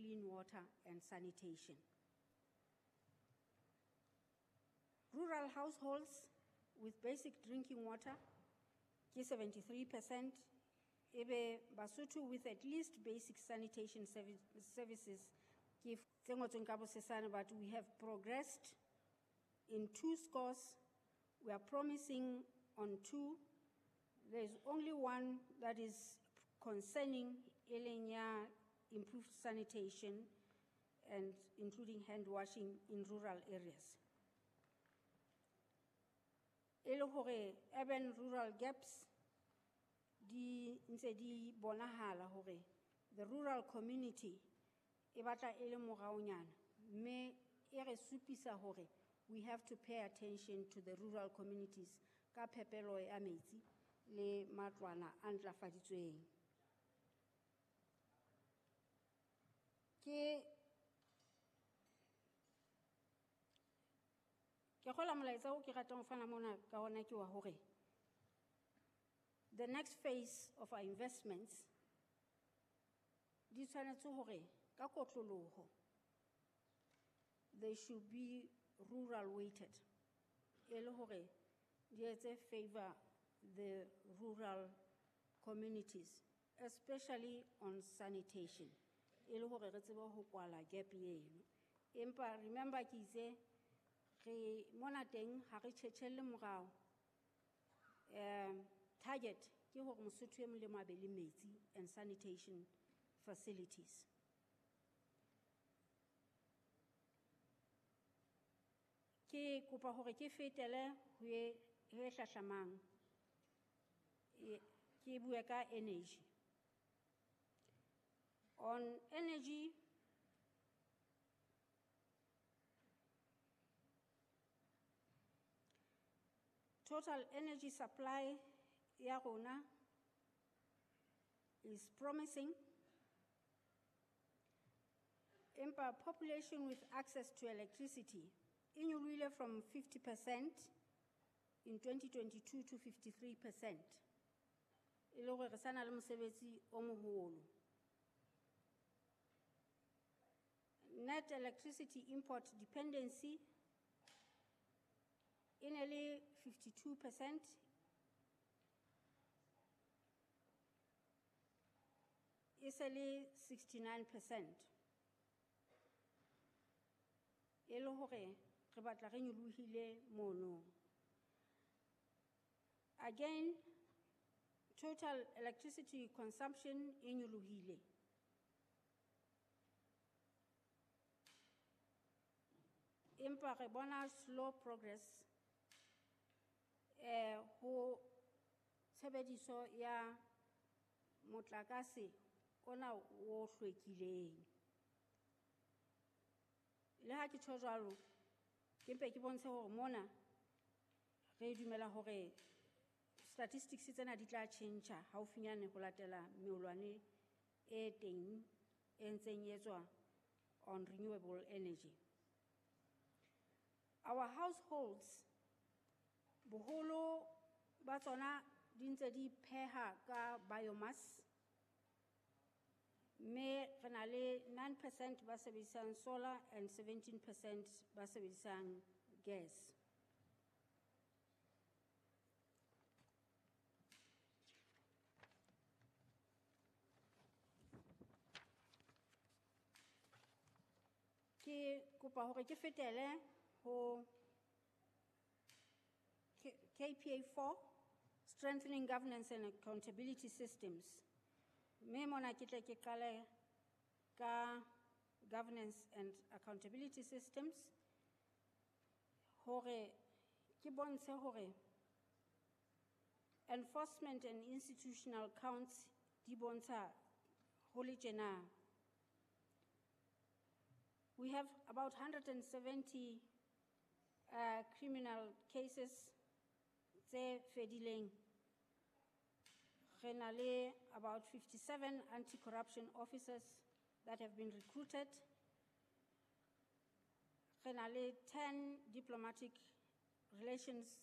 clean water and sanitation. Rural households with basic drinking water ke 73%, ebe Basotho with at least basic sanitation services ke tse ngotsweng ka bosesane, but we have progressed in 2 scores. We are promising on 2. There is only one that is concerning, e leng ya improved sanitation and including hand washing in rural areas. E le hore urban rural gaps di ntse di bonahala hore the rural community e batla e le moraonyana, mme e re supisa hore we have to pay attention to the rural communities ka phepelo ya metsi le matlwana a ntlafaditsweng. Ke kgolwa molaetsa o ke ratang ho fana mona ka ona ke wa hore the next phase of our investments di tshwanetse hore ka kotloloho they should be rural weighted, e le hore di etse favor the rural communities, especially on sanitation, e le hore re tsebe ho kwala gap eno. Empa remember ke itse re mona teng ha re tjhetjhelle morao. Target ke hore Mosotho e mong le mong a be le metsi and sanitation facilities. Ke kopa hore ke fetele ho e hlahlamang, ke bue ka energy. On energy, total energy supply ya rona is promising. Empa population with access to electricity e nyolohile from 50% in 2022 to 53%. E le hore re sa na le mosebetsi o moholo. Net electricity import dependency e ne le 52%, e se le 69%. E le hore re batla re nyolohile mono. Again, total electricity consumption e nyolohile. Empa re bona slow progress ho tshebediso ya motlakase ona o hlwekileng. Le ha ke tjho jwalo, ke mpe ke bontshe hore mona re dumela hore statistics tsena di tla tjhentjha haufinyane ho latela meolwane e teng e ntseng e etswa on renewable energy. Our households, boholo ba tsona di ntse di pheha ka biomass, mme re na le 9% ba sebedisang solar and 17% ba sebedisang gas. Ke kopa hore ke fetele ho KPA 4, Strengthening Governance and Accountability Systems. Mme mona ke tle ke qale ka Governance and Accountability Systems, hore ke bontshe hore enforcement and institutional counts di bontsha ho le tjena. We have about 170 criminal cases tse fedileng. Re na le about 57 anti-corruption officers that have been recruited. Re na le 10 diplomatic relations